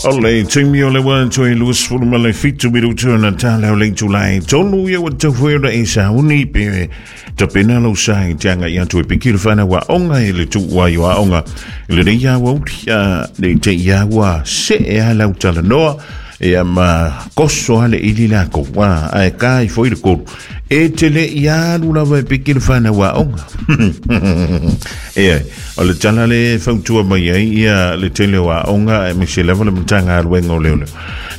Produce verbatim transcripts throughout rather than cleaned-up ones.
O le timi o le wa toi luas fulu ma le fitu mirutu na tala o le tulai tolu ia wa tau ona e sauni pe tapena lau sai te anga ia tui piki le whana wa onga e le tua i wa onga le nei ia wa uti a le te ia wa se e a lau talanoa e ma koso ale ili lako wa ae ka i foi le kolu e te le ia alu lava e piki le whana wa onga e o le tala le fautua mai ai ia le tele wa onga e mese lava le matanga aluenga o leo leo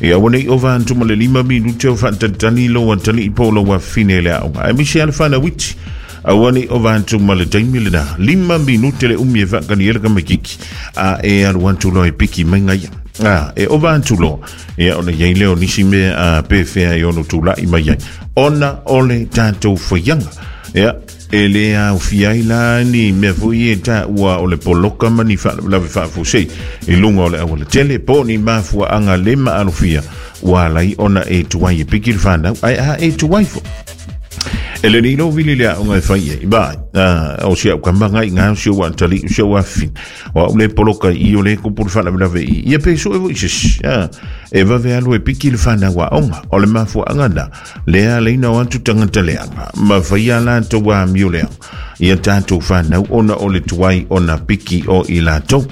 ia wane i ova antuma le lima minute o whaatantani lo antani i polo wa fine le aonga e mese ale whana witi awani o vantuma le taimi le na lima minute le umi e whaakani ele kamakiki a e alu antu lo e piki mai ngai a e o vantu lo ia ona iai leo nisi me a pewhea i ono tūla'i mai ai ona o le tātou whaianga ia e le au fiai la ni mea foi e tā ua o le poloka ma ni whaalawe whaafosei i lunga o le awala tele po ni mafua anga le maalofia ua lai ona e tuai e piki le whanau ai a e tuai fo e le nilo vili lea onga e whai e bai o si au kambanga i ngā si au antali o si au afin o au le poloka i o le kupuru whaalawe i ia peso e voi sisi e vave alu e piki le whanau a onga o le mafua anga na lea leina o atu tangata leanga ma whaia lātou a mio leanga ia tātou whanau ona o le tuai ona piki o i lātou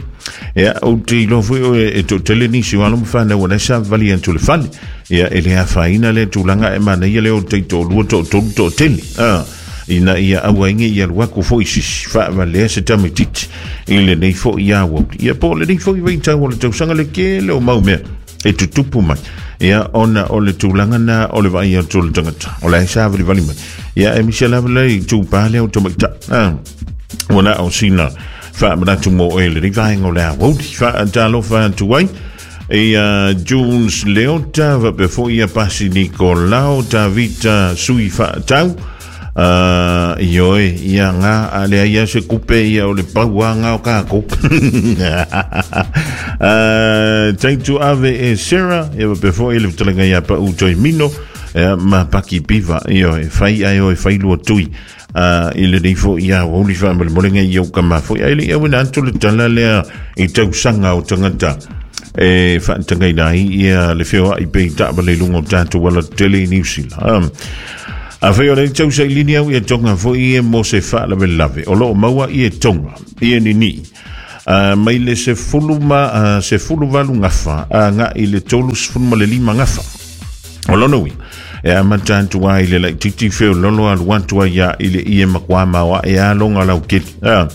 ia o te ilo foi o e to tele nisi walo mwhana wana sa vali antu le fale ia e le awhaina le tūlanga e mana ia le o te tō lua tō tolu tō tele ah, ina ia aua inge ia luaku foi sisi whaava lea se tamititi i le nei foi ia wau ia po le nei foi wei tau o le tausanga le ke le o mau mea e tutupu mai ia ona o le tūlanga na o le vai atu le tangata o le sa vali vali mai ia e misia lava le tūpā le o tamaita ah, wana o sina whaamanatu mo e le rivaenga o le awauri whaatalofa atu ai e uh, Jules Leota wapefo ia Pasi Nikolao Tavita Sui Whaatau uh, ioe ia ngā a lea ia se kupe ia o le paua ngā o kākou uh, Taitu Ave e Sarah ia wapefo e le vitalenga ia pa utoi mino ia ma paki piva ioe whai ai oe whailua tui Uh, i le nei foi ia wauli whaamalemolenga i au ka mafoi ai le ia wena atu le tala lea i tausanga o tangata e whaantangaina ai ia le whioa i pei taaba le lunga o tātou wala tele i New Zealand um, a whai o le tausa i lini au ia tonga foi e mo se whaalawe lave o loo maua i e tonga i e nini uh, mai le se fulu ma uh, se fulu valu ngafa a ngā i le tolu se fulu ma le lima ngafa o lono ui e amata atu ai le laititi feo lolo alu atu ai ia i le ie makua maoa e alonga lau keli ah,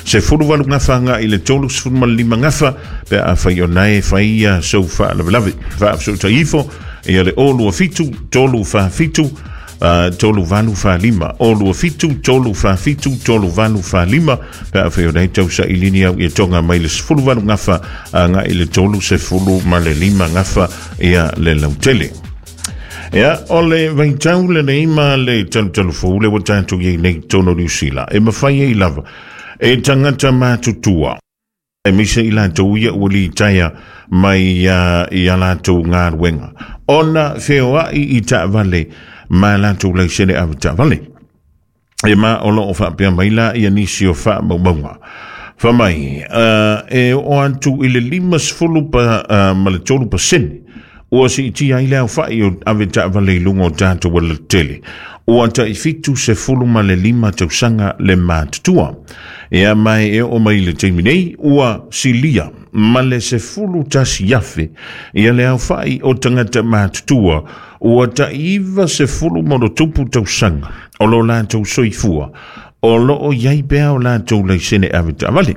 se fulu valu ngafa nga i le tolu se fulu ma le lima ngafa pe a whai o nae whai ia sau whaalawelawe whaafsota ifo ia le olua fitu tolu whaafitu Uh, tolu valu whalima olua fitu tolu whaafitu tolu valu whalima pe a whai o nei tausa i lini au ia tonga mai le sefulu valu ngafa uh, nga i le tolu se fulu ma le lima ngafa ia le lautele ia o le vaitau le nei ma le talutalu fou le wa tātou iei nei tono New Zealand e mawhai ei lava e tangata mātutua e misa i lātou ia ua li taia mai uh, i a lātou ngā ruenga ona whioai i taavale ma lātou leisene awe taavale e ma o loo whaapea mai la ia nisi o whaamaumaunga whamai uh, e o antu i le lima sefulu pa, uh, ma le tolu pasene ua si iti ai leo whai o ave taavale i lunga o tātou wala tele. Ua tai fitu se fulu ma le lima tausanga le mātutua. Ea mai e o mai le teimi nei, ua silia ma le se fulu tasi afe. Ia le au whai o tangata mātutua, ua tai iwa se fulu mono tupu tausanga o lo lātou soifua, o lo o iai pea o lātou leisene ave taavale.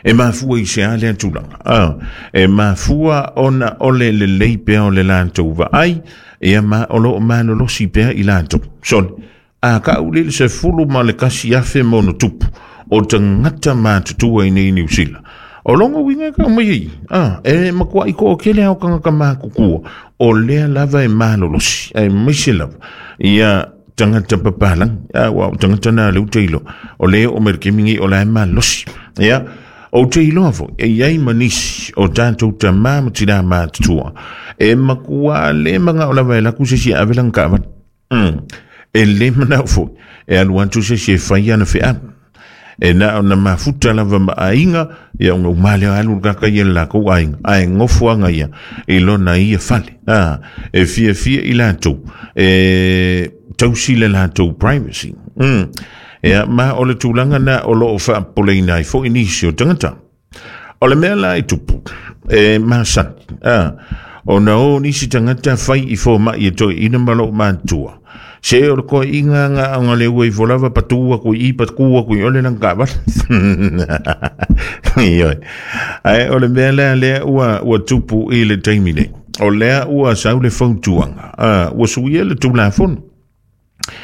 E mafua i se ale atulanga. Ah, e mafua ona ole le lei pea o le lātou vaai, e ma olo o malolosi pea i lātou. Son, a ka ule se fulu ma le kasi afe mono tupu, o tangata mātutua i nei New Zealand. O longo winga ka mai ei. Ah, e makua i ko o kele au kanga ka mākukua, o lea lava e malolosi, e maise lava. Ia tangata papalang, ah, wa, tangata nā leu teilo, o lea o merkemingi o la e malolosi. Ia, o te iloa foi, e iai manisi o tātou ta māmatina mātutua. E makua le manga o lava e laku se si avelang ka avan. Mm. E le manau foi, e alu atu se si e whai ana whea. E na ona mafuta lava ma aiga ia ona umale alu kaka ia la ko aiga ai ngofuanga ia i lona ia fale a e fia fia i latou e tausi le latou privacy. Mm. Ia ma o le tulaga na o loo faapoleina ai foʻi nisi o tagata. O le mea la e tupu e masani a ona o nisi tagata fai i fomaʻi e toeʻina ma loo matua se o le koeʻiga ga ona le ua ifo lava patu aku i patu aku i ole lana kaavale. Ioe ae o le mea lea lea ua ua tupu i le taimi nei o lea ua sau le fautuaga a ua suia le tulafono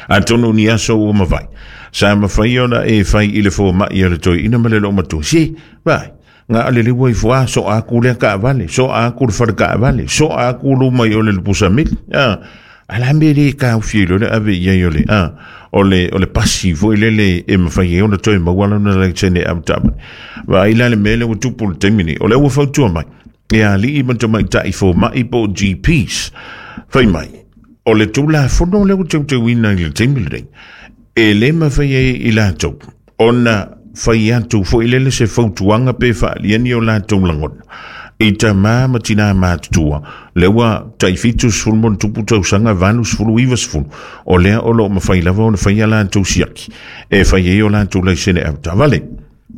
atonu ni aso ua mavai sa mafai ona e fai i le fomaʻi o le toeʻina ma le loo matua se vai nga ale le ua ifo a so aku le kaavale so aku le fale kaavale so aku luma i ole le pusamili a ala me le ka ufie lo le ave ia i ole a o le o le pasi foi le le e mafai e ona toe maua lona le tene a taba va ila le mele ua tupu le taimi nei o le ua fautua mai e aliʻi ma tamaitaʻi fomaʻi po o G Ps fai mai o le tulafono le ua teuteuina i le taimi lenei e lē mafai ai i latou ona fai atu foʻi lele se fautuaga pe faaliani o latou lagona i tamā ma tinā matutua le ua taʻifitu sefulu ma ona tupu tausaga valu sefulu iva sefulu o lea o loo mafai lava ona faia latou siaki e fai ai o latou laisene avetaavale.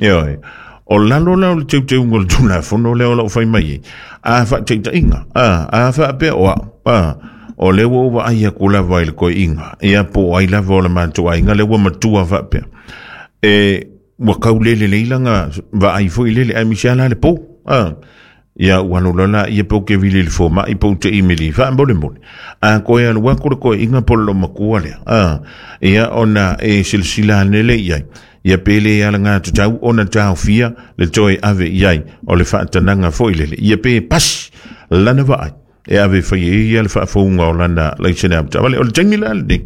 Ioe o lalo la o le teuteuga o le tulafono lea o loo fai mai ai a faataitaʻiga a a faapea o a'u a o le ua ua ai aku lava i le koeʻiga ia po o ai lava o le matou aiga le ua matua faapea e ua kaulele lei laga vaai foʻi lele ae misi ala le pou a ia ua alu loa laia pe ou ke vili i le fomaʻi pe ou te imili faamolemole a koe alu aku le koeʻiga po le loomakua lea a ia ona e silasila ane le i ai ia pe lē alagā tatau ona taofia le toe ave i ai o le faatanaga foʻi lele ia pe pasi lana vaai e ave fai ai ia le faafouga o lana laisene avetaavale. O le taimi la lenei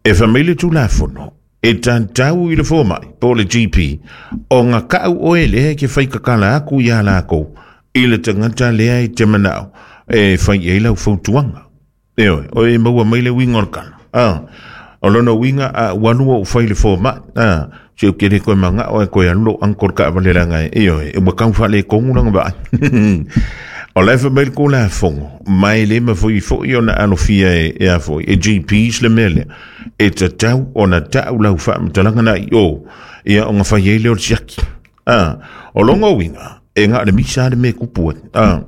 e famai le tulafono e tatau i le fomaʻi po o le G P o ga kaʻau oe lea e ke fai kakala aku iā lakou i le tagata lea e te manaʻo e fai i ai lau fautuaga. Ioe o e maua mai le uiga o le kala a o lona uiga a ua alu ou fai le fomaʻi a se u kele koe magaʻo e koe alu lou uncle le kaavale laga e ioe ua kau faaletogu laga vaai. O le fa mai le kulafono mai le mafai foʻi ona alofia e e a foʻi e G Ps le mea lea e tatau ona taʻu lau faamatalaga na i o ia ona fai ai lea o le siaki a o loga uiga e gaʻo le misa le mea kupu ai a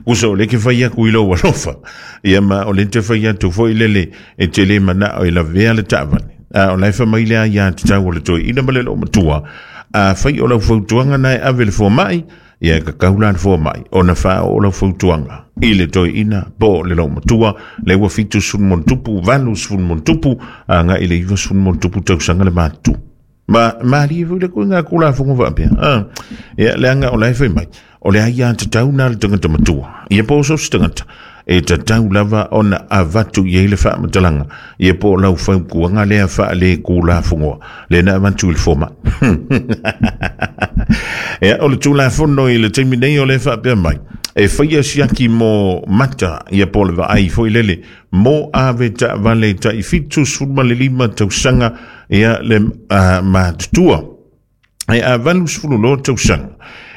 uso o le ke fai aku i lou alofa ia ma o le te fai atu foʻi lele e te lē manaʻo e lavea le taavale a o lae famai lea iā tatau o le toeʻina ma le loo matua a fai o lau fautuaga na e ave le fomaʻi ia e kakau la le fomaʻi ona faaoo lau fautuaga i le toeʻina po o le loo matua le ua fitu sefulu ma ona tupu valu sefulu ma ona tupu agaʻi le iva sefulu ma ona tupu tausaga le matutu ma malie foi le koiga kulafogo faapea a ia leaga o lae fai mai o le aiā tatau na le tagata matua ia po o so se tagata e tatau lava ona avatu i ai le faamatalaga ia po o lau fautuaga lea faalē kulafogoa le na avatu i le fomaʻi. Ia o le tulafono i le taimi nei o le faapea mai e faia siaki mo mata ia po o le vaai foʻi lele mo ave taavale taʻifitu sefulu ma le lima tausaga ia le uh, matutua e a valu sefulu loa tausaga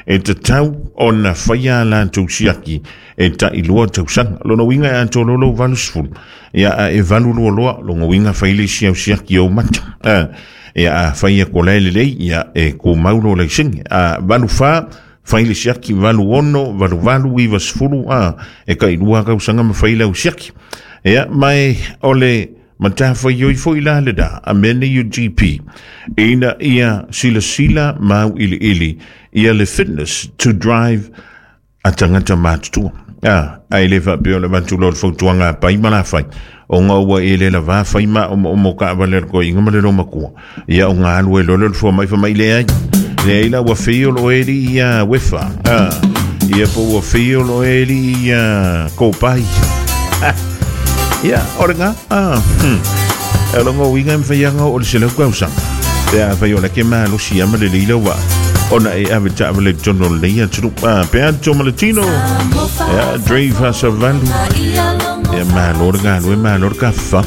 e tatau ona faia latou siaki e taʻilua tausaga lona uiga e atoa lou valu sefulu ia a e valu lua loa lona uiga fai le isi au siaki ou mata a ia a faia kola e lelei ia e kumau lo laisene a valu fā fai le siaki valu ono valu valu iva sefulu a e taʻilua tausaga ma fai lau siaki ia mai o le matafaioi foʻi la le da a mea nei o G P ina ia silasila mau iliili ia le fitness to drive a tagata matutua a ai le faapea o le avatu loa le fautuaga pai ma lafai ona ua e le lavā fai ma omoomo kaavale a le koeʻiga ma le lomakua ia ona alu ai loa le o le foamaʻi famaʻi leai leai la ua fei o loo e alii ia wefa a ia po ua fei o loo e alii ia kopai. Ia o le ga a e loga uiga e mafaiaga oo le selau tausaga pe a fai o le ke malosi ia ma lelei lau vaa ona e ave taavale i totonu o lenei atunuu a pe ato ma le tino ia Drave Hasavalu ia malo le galue malo le kafafa.